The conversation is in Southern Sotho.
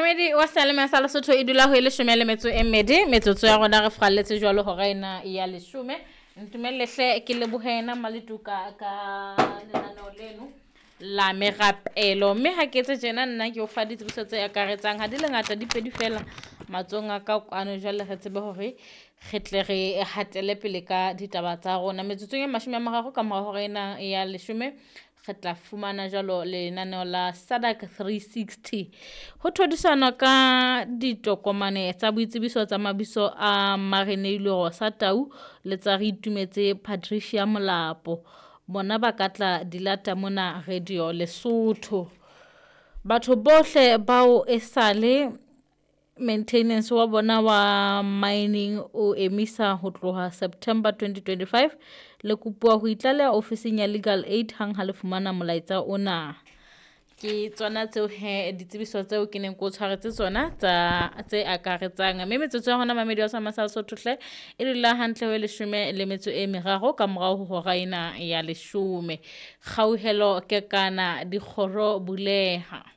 Momamedi wa Seyalemoya sa Lesotho e dula ho e leshome le metso e mmedi metsotso ya rona re furalletse jwalo hora ena ya leshome. Ntumelle hle ke lebohe yena Maletuka ka lenaneo leno la merapelo mme ha ke etse tjena nna ke o fa ditsebiso tse akaretsang ha di le ngata di pedi fela matsohong a ka kwano jwale re tsebe hore re tle re hatele pele ka ditaba tsa rona metsotsong e 30 ka mora hora ena ya leshome re tla fumana jwalo lenaneo la SADC 360 ho thodisana ka ditokomane tsa boitsebiso tsa mabitso a Mareneilwe Rosa Tau le tsa re itumetse Patricia Molapo bona ba ka tla dilata mona Radio Lesotho batho bohle bao esale maintenance wa bona wa mining o emisa ho tloha September 2025 le kopuwa ho itlaleha ofising ya Legal Aid hang ha le fumana molaetsa ona. Ke tsona tseo he ditsebiso tseo ke neng ke o tshwaretse tsona tsa tse akaretsang mme metsotso ya hona mamedi wa sa Lesotho hle e dula hantle ho e leshome le metso e meraro ka morao ho hora ena ya leshome. Kgauhelo Kekana dikgoro buleha.